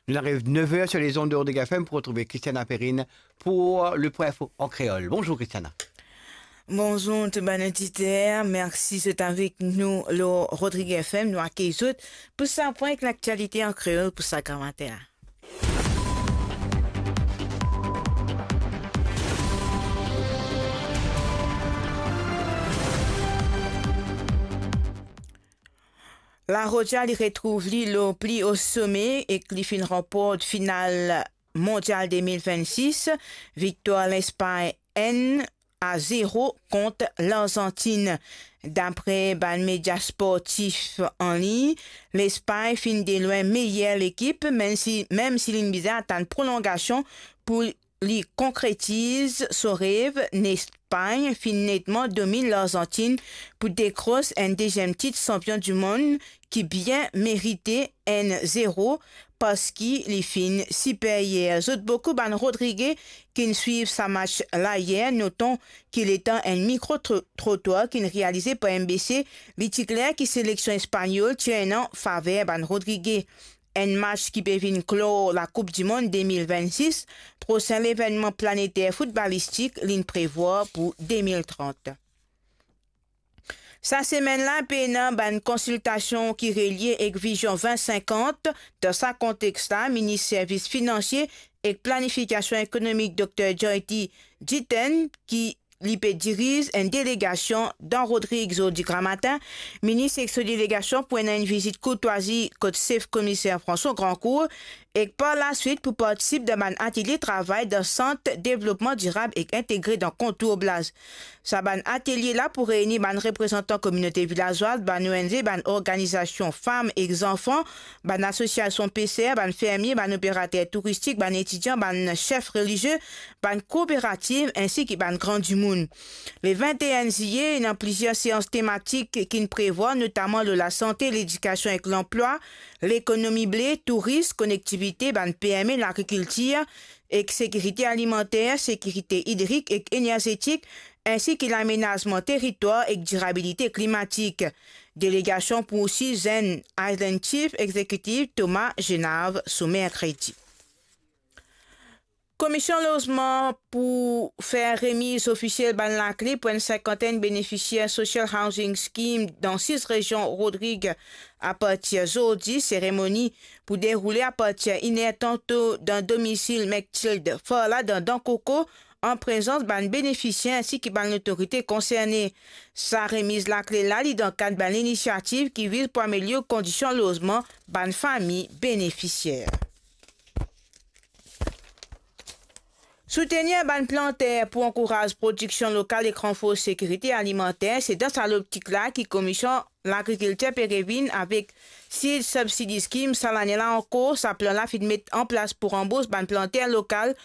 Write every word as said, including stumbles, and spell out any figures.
Nous arrivons neuf heures sur les ondes de Rodrigue F M pour retrouver Christiana Perrine pour le Point Info en créole. Bonjour Christiana. Bonzour tou bann oditer, mersi zot avek nou lor Rodrigue F M. Nou akey zot pou sa pwin ek laktialite an kreol pou sa gramatin. La Roja li retrouv li lor pli o some ek li finn ranport final Mondial de mil vennsis, viktwar Lespagn enn a zero kont Larzantin. Dapre bann media sportif an lign, Lespagn finn delwin meyer lekip, mem si, mem si linn bizin atann prolongasion pou li konkretiz so rev. Lespagn finn netman dominn Larzantin pou dekros enn deziem tit sanpion dimond ki bien merite, enn zero, parski li finn siperyer. Zot boukou bann Rodrige ki'nn swiv sa match la yer, noton ki letan enn mikro tro-, trotwar ki'nn realize par M B C, li ti kler ki seleksion espanyol ti ena faver bann Rodrige. Enn match ki pe vinn klor Lakoup Dimond de mil vennsis, prosin levennman planeter foutbalistik li'nn prevwar pou de mil trant. Sa semenn la, pena bann konsiltasion ki relie ek Vizion vin sinkant. Dan sa konteks la, minis servis finansie ek planifikasion ekonomik, Dokter Joyty Jiten, ki li pe diriz enn delegasion dan Rodrig zordi gramatin. Minis ek so delegasion pou ena enn vizit kourtwazi kot sef komiser François Grandcourt, ek par laswit pou partisip dan bann atelie travay dan Sant Devlopman Dirab ek Integre dan Kontour Blaz. Sa bann atelie la pou reini bann reprezantan kominote vilazwaz, bann O N G, bann organizasion fam ek zanfan, bann asosiasion peser, bann fermie, bann operater touristik, bann etidian, bann sef relizie, bann kooperativ, ensi ki bann gran dimoun. Le vinte et un ziye, ena plizier seans tematik ki'nn prevwar, notaman lor lasante, ledikasion ek lanplwa, lekonomi ble, touris, konektivite, bann P M E, lagrikiltir ek sekirite alimanter, sekirite idrik ek enerzetik, ensi ki lamenazman teritwar ek dirabilite klimatik. Delegasion pou osi zenn Island Chief Executive Thomas Genave so merkredi. Komision Lozman pou fer remiz ofisiel bann lakle pou enn sinkantenn benefisier Social Housing Scheme dan sis rezion Rodrig apartir zordi. Seremoni pou deroule apartir inn er tanto dan domisil Mektilde Farla dan Dankoko, an prezans bann benefisier ensi ki bann lotorite konserne. Sa remiz lakle la, li dan kad bann linisiativ ki viz pou amelior kondision lozman bann fami benefisier. Soutenir bann planter pou ankouraz prodiksion lokal ek ranfors sekirite alimanter, se dan sa loptik la ki Komision Lagrikiltir pe revinn avek Seed Subsidy Scheme sa lane la ankor. Sa plan la finn met an plas pou ranbours bann planter lokal